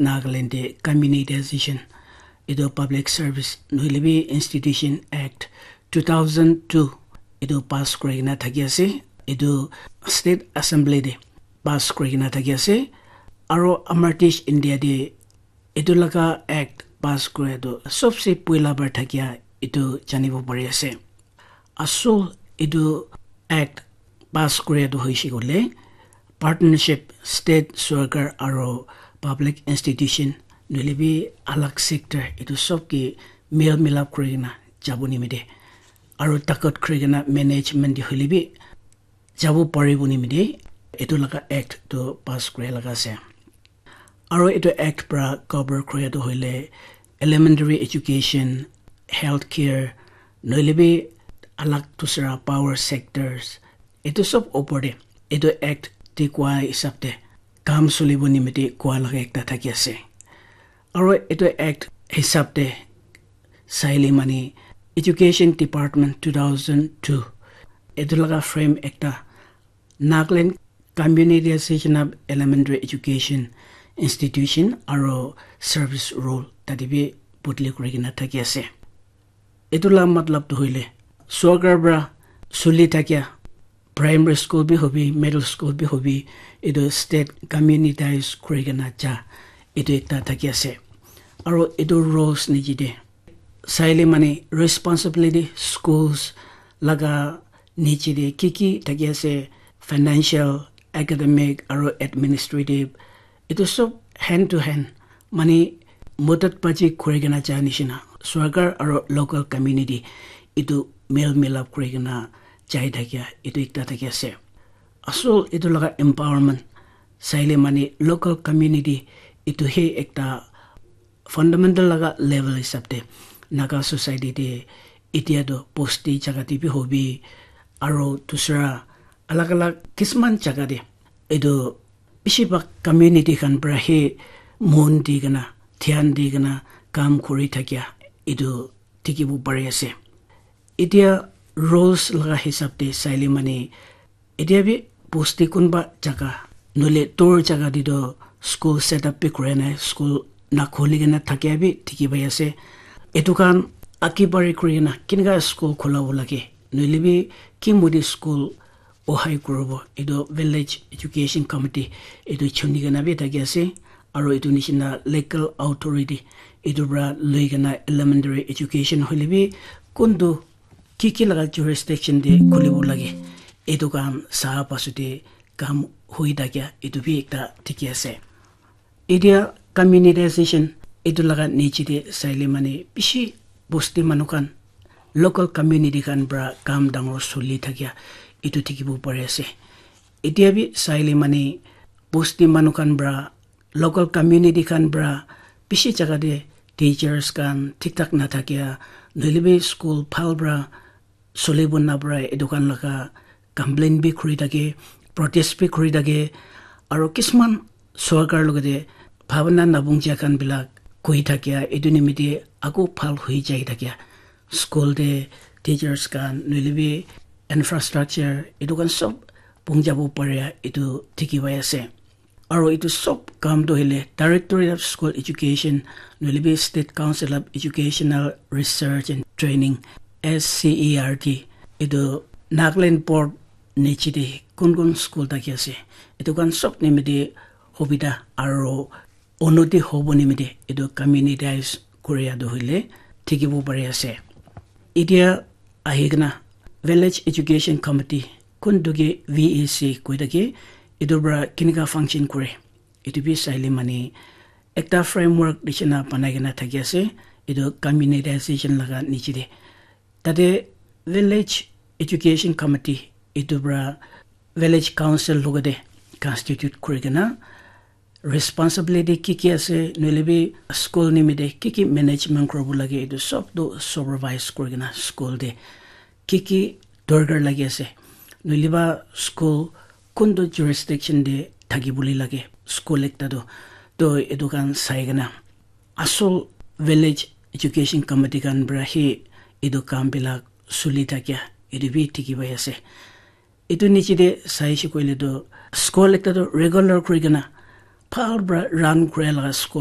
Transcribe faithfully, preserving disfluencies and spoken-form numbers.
Nagaland te communitization, etu Public Service nohoile bi Institution Act two thousand two etu pass kuri kena thaki ase. Etu State Assembly te pass kuri kena thaki ase. Aro Amar Desh India te etu laga act pass kura tu sobse poila bar thakia etu janibo pari ase. Asol etu act pass kura tu hoise koile partnership state sorkar aro public institution nohoile bi alag sector etu sob ke mel milap kuri kena jabo nimite aro takot kuri kena management de hoile bi jabo paribo nimite etu laga act tu pass kura laga ase. Aro etu act pra cover kura tu hoile elementary education, healthcare, nohoile bi alag dusra power sectors, etu sob opor te etu act te koa hisab te kam solibo nimite koa laga ekta thaki ase. Aro etu act hisab te saile mane Education Department two thousand two etu laga frame ekta Nagaland Communitization of Elementary Education Institution aro Service Rule tate bi bodli kuri kena thaki ase. Etu la matlab tu hoile sorkar pra suli thakia primary school bi hobi, middle school bi hobi, etu state communitize kuri kena ja etu ekta thaki ase. Aro etu rules niche te saile mane responsibility schools laga niche te ki ki thaki ase, financial, academic aro administrative, etu sob hand to hand mane modot paji kuri kena ja nishina sorkar aro local community etu mel milap kuri kena jai thakia etu ekta thaki ase. Asol etu laga empowerment saile mane local community etu he ekta fundamental laga level hisab te Naga society te etia tu bosti jaga te bi hobi aro dusra alag alag kisman jaga te etu bishi bhag community khan pra he mon di kena dhyan di kena kam kuri thakia etu dikhibo pari ase. Etia rules laga hisab te saile mane etia bi bosti kunba jaga nohoile dur jaga te toh school set up bi kura nai, school na khuli kena thakia bi dikhi pai ase. Etu khan age bari kuri kena kineka school khulabo lage nohoile bi ki modi school ohai kuribo etu village education committee etu chuni kena bi thaki ase. Aro etu nishina local authority etu pra lui kena elementary education hoile bi kuntu ki ki laga jurisdiction te khulibo lage etu khan sa pasute kam hui thakia etu bi ekta dikhi ase. Etia communitization etu laga niche te saile mane bishi bosti manu khan local community khan pra kam dangor suli thakia etu dikhibo pari ase. Etia bi saile mane bosti manu khan pra local community khan pra bishi jaga te teachers khan thik thak na thakia nohoile bi school bhal pra solibo na para etu khan laga complain bi kuri thake, protest bi kuri thake, aro kisman sorkar logate bhabana nabungjia khan bilak koi thakia etu nimite aku bhal hoi jai thakia school te teachers khan nohoile bi infrastructure etu khan sob bung jabo paria etu dikhi pai ase. Aro etu sob kam tu hoile Directorate of School Education nohoile bi State Council of Educational Research and Training, S C E R T, etu Nagaland Board niche te kun kun school thaki ase etu khan sob nimite hobida aro unnoti hobo nimite etu communitize kuria tu hoile dikhibo pari ase. Etia ahi kena Village Education Committee kuntu ke V E C koi thake etu para kenika function kore etu bi saile mane ekta framework nishina banai kena thaki ase etu communitization laga niche te. Tate Village Education Committee etu para Village Council logate constitute kuri kena responsibility ki ki ase nohoile bi school nimite ki ki management kuribo lage etu sob tu supervise kuri kena school te ki ki dorkar lagi ase nohoile ba school kuntu jurisdiction te thaki bole lage school ekta tu to etu khan sai kena asol village education committee khan para he etu kam bilak suli thakia etu bi dikhi pai ase. Etu niche te saishe koile tu school ekta tu regular kuri kena bhal para run kura laga school